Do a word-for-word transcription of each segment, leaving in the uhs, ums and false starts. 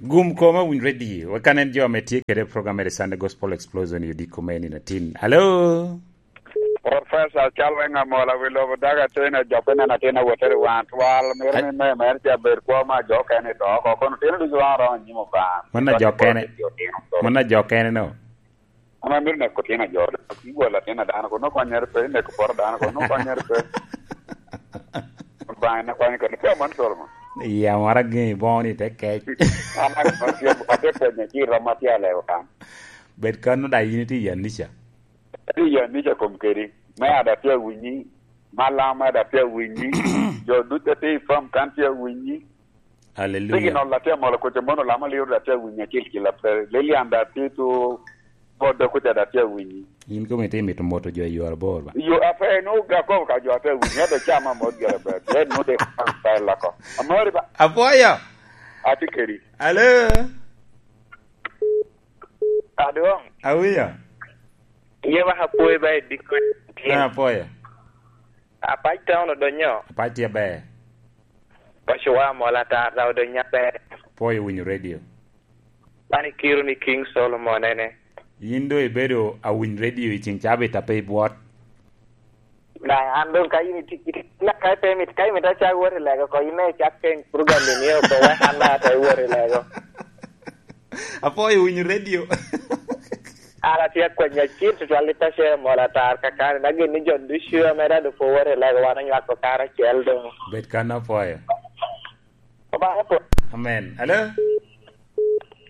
Gum koma winy ready. Wek kan en jo ame tye kede program mere Sunday Gospel Explosion i odiko me nino atin. Hello? Professor Cal Weng Amola, wi lobo daga atin, ajope neno atin awotere wan twal. Miro ni me, me, ce aber kwo ma jo kene i to oko. Kono tino ducu wan oromo nyimo ban. Mano jo kene. Mano jo kene no. Ama miro neko tino ajo. Iwolo atin a dano, kono konyere pe, ineko poro dano, kono konyere pe. Bang na kwany kene, pe man solo mo. Iya, mara gini boŋo ni te kec. Ama konyere pe, ate penye, ci rom atye alego kan. Bed kan no da yin itye i Anisha. Ate i Anisha kom kedi. Me ada tye awinyi. Malam ada tye awinyi. Jo ducu ate i fam kan tye awinyi. Hallelujah. Signal da tye amolo kuca mono lama liro da tye awinyi acel kila pe. Lilian da tye tu bodo kuca da tye awinyi. In kome tye mito moto jo i yore abor ba? Yo ape no ga ko ka jo ate awinyi ate chama mot gere be. Ye no de pa lako. Amori ba. Apoyo. Ati keri. Hello. Adwong. Awiya. Ye ba apoyo ba ediko. Ah, apoyo. Apac town odonyo. Apac tye aber. Paco wa mola tar da odonyo aber. Pwoyo winyo radio. An ikiro ni King Solomon ene. Yin do ibedo awiny radio i ceng cabit ape ibwot. Na an dong ka yin iti-, iti-, na ka pe mit, ka imito acak wot i lego ko, yin me icak keny program ni ni oko, wek an na ata iwot i lego. Apwoyo winyo radio. An atye akwenya cil tutwal i paco mola tar kakani, na gin ni jo ducu ame dado pwo wot i lego wan onywako karacel dong. Bed kan apwoyo. Obaŋa po. Amen. Hello?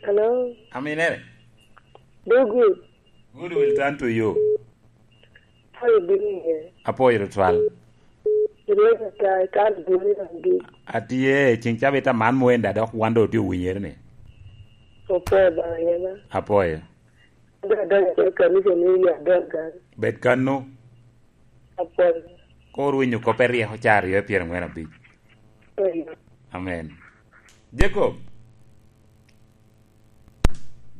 Hello? Aminere? Do good. Good will turn to you. How you doing here? Apwoyo tutwal. Rweny ata, ikan buni na gi. Atye, ceng cabit aman mwenda dok wan do otye owinyere ni. Opo ba yena. Apwoyo. Da da ya kanisa ni ya da ga. Bed kano. Apwoyo. Kor winyo kope ryeko ca aryo e pyerangwen abic. Amen. Jacob.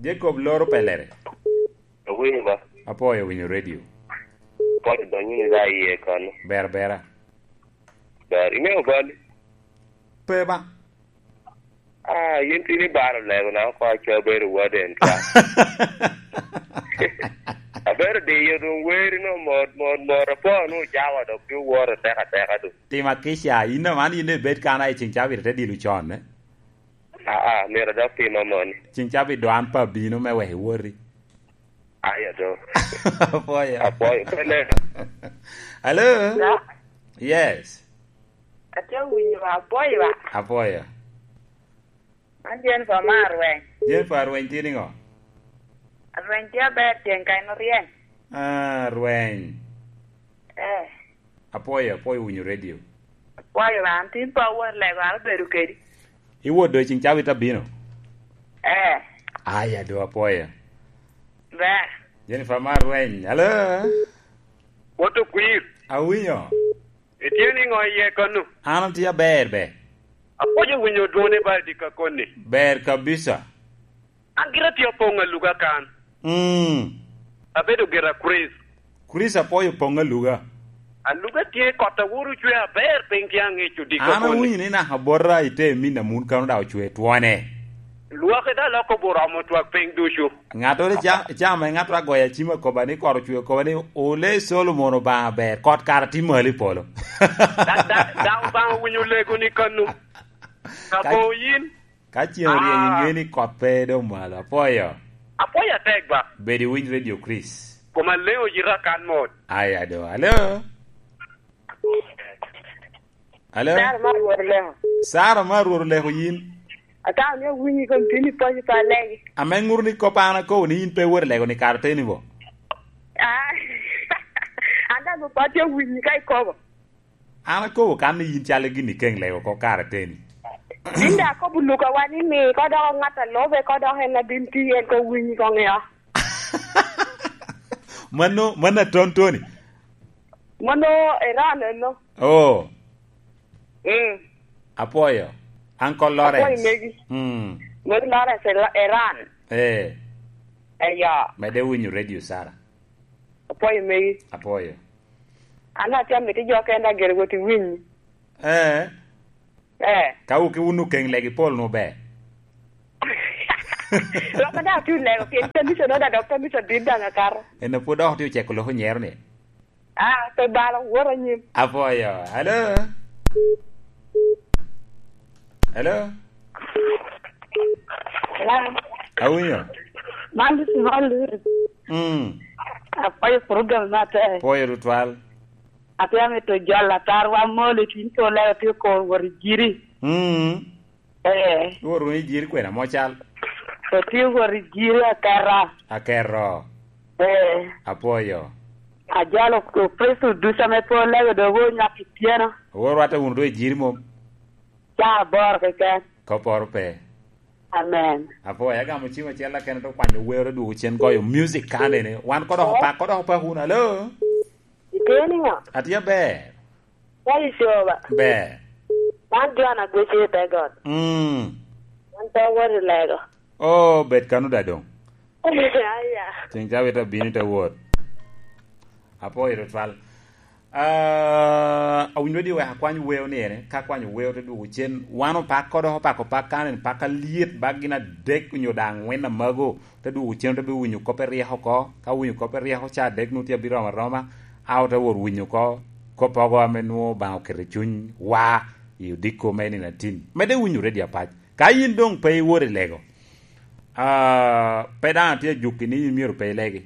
Jacob loro pelere. Awinyo ba. Apwoyo winyo radio. Pwod donyo ni da iye kano. Ber bera. Ber. Ime obali? Pe ba. Ah, yin tin ibaro lego na oko aco abedo waden ka. Abedo diyo dong weri no mot, mot, mot. Apwoyo nu jawa dok pi woro teka teka dong. Tim akica, yin aman yin ibed kan a i ceng cabit te dilo con, eh? Aa, myero dok tim amoni. Ceng cabit do an pe abino me wek iwoti. Aya do. Apwoyo. Apwoyo. Pele. Hello? Hello? Yes. Atye winyo apwoyo ba. Apwoyo. An Jennifer ma Arweny. Jennifer Arweny tye niŋo? Arweny tye aber, tyen ka en oryeny. Ah, Arweny. Eh. Apwoyo, apwoyo winyo radio. Apwoyo ba, an tin pe awot lego, an obedo kedi. Iwot do i ceng cabit abino? Eh. Aya do, apwoyo. Ber. Jennifer ma Arweny, hello? Wot okwir. Awinyo. Itye niŋo iye kano? An atye aber be. Apwoyo winyo dwone ba i dika koni. Ber kabisa. An gira tye opoŋ aluga kan. Mm. Abedo gira Chris. Chris apwoyo poŋ aluga. Aluga tye kot aworo cwe aber piny tye aŋeco dika koni. An awinyo ni naka bota i te min amun kano da ocwe twone. Lwak i da loko boromo twak piny ducu. Ŋato ni ca-, cama i ŋato agoya cima koba ni kot ocwe koba ni ole Solomon Obaŋa ber, kot kara tye malo i polo. Da, da, da Obaŋa winyo lego ni kano. Ka Ka bo yin. Ka ceng oryeny, ah, iŋe ni kot pe dong malo. Apwoyo. Apwoyo atek ba. Bed iwiny Radio Chris. Kom aleŋo yita kan mot. Aya do. Hello? Hello? Sara ma Rwot Oleko. Sara ma Rwot Oleko yin? Atamo ni awinyi kom tin i paco pa legi. Ame ŋuto ni kop an akobo ni yin pe iwot i lego ni kare teni bo? Ah, an daŋ pe atye awinyi ka ikobo. An akobo kan ni yin calo gin ikeŋ lego oko kare teni. Yin daŋ akobo lukawa ni mi, ka dok ŋat a lobe, ka dok en a bin ti, en ko winyi ko ŋeo. Mano, mano aton toni? Mano Iran eno. Oh. Mm. Apwoyo. Uncle Lawrence. Apwoyo megi. Mm. Mano Lawrence Ira-, Iran. Eh. Eyo. Mede winyo Radio Sara. Apwoyo megi. Apwoyo. An atye amito jo kenda gire wot i winyi. Eh. Eh. Ka wuki wun okeŋ legi pol nu ber. Lok a daŋ atye lego, pien kanisa nongo daŋ dok kanisa dit daŋ akato. En a pwod dok otye oceko loko nyero ni. Ah, pe balo, wot anyim. Apwoyo. Hello? Hello? Hello? Awinyo? Man this is all lyrics. Mm. Apwoyo program matek. Pwoyo tutwal. Atye amito jolo atarwa moli, tin pol lego tye kor wot i jiri. Mm. Eh. Iwor wunu i jiri kwena mo cal? Otye wot i jiri aketa. Akero. Eh. Apwoyo. Ajalo Kristo ducu ame pol lego dogo onyak i tyena. Owor rwatte wunu do i jiri mom? Ca aboro keken. Koporo pe. Amen. Apwoyo, agamo cim acel akene to kwanyo wero dwogo cen goyo music kanene. Wan kodok opak, kodok opak wunu. Alo? Itye niŋo? Atye aber. Ka icoba. Ber. Man John Agwece i te got. Mm. An pe awot i lego. Oh, bed kano da doŋ. Aya. Ceng ca wita bini te wot. Apwoyo tutwal. Ah, awinyo di wek akwany weo ni ene, ka kwanyo weo te dwogo cen. Wan opak kodo, opak, opak kan en pak alyet bak gin adek onyo daŋ angwen amago. Te dwogo cen, te bi winyo kop eryek oko. Ka winyo kop eryek oko ca adek, nwoŋo tye abiromo aroma. A ote wot winyo oko kop ogo ame nwoŋo Obaŋa oketo i cuny wa i odiko me nino atin. Medde winyo redio apac. Ka yin doŋ pe iwot i lego, ah, pe daŋ atye ajukki ni yin myero pe ilegi.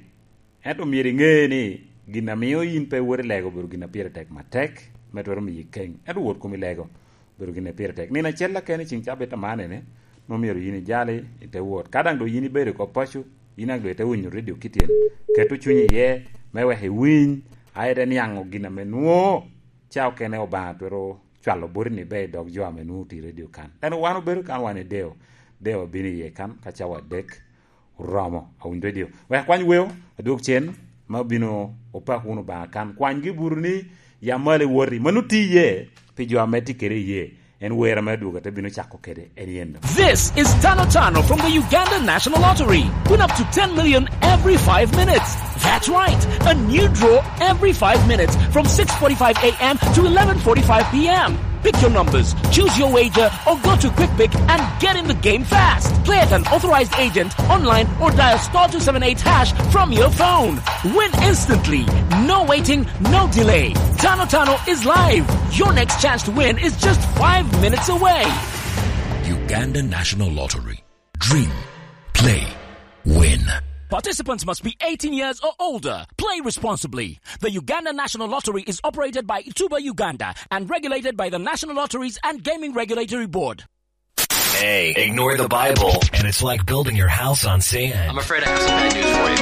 Ento myero iŋe ni gin a mio yin pe iwot i lego obedo gin a pire tek matek, me twero miyi keŋ. Ento wot kom i lego obedo gin a pire tek. Nino acel akene i ceŋ cabit amanene, nwoŋo myero yin ijali i te wot. Ka daŋ doŋ yin ibedo i kop paco, yin daŋ doŋ ite winyo redio kityen. Keto cunyi iye, me wek iwiny, a ite niaŋo gin ame nwoŋo ca okene Obaŋa twero cwalo boti ni ber i dog jo ame nwoŋo tye i redio kan. Ento wan obedo kan, wan i deo, deo abino iye kan ka cawa adek oromo. Awinyo redio. Wek akwany weo, adwog cen, ma obino opak wunu Obaŋa kan. Kwanygi buru ni, ya malo iwoti. Mano tye iye pi jo ame tye kede iye. En wer ame adwogo te bino cako kede, en yen. This is Tano Tano from the Uganda National Lottery. Win up to ten million every five minutes. That's right. A new draw every five minutes from six forty-five a m to eleven forty-five p m. Pick your numbers, choose your wager, or go to Quick Pick and get in the game fast. Play at an authorized agent, online, or dial star two seven eight hash from your phone. Win instantly. No waiting, no delay. Tano Tano is live. Your next chance to win is just five minutes away. Uganda National Lottery. Dream. Play. Win. Participants must be eighteen years or older. Play responsibly. The Uganda National Lottery is operated by Ituba Uganda and regulated by the National Lotteries and Gaming Regulatory Board. Hey, ignore the Bible, and it's like building your house on sand. I'm afraid I have some bad news for you.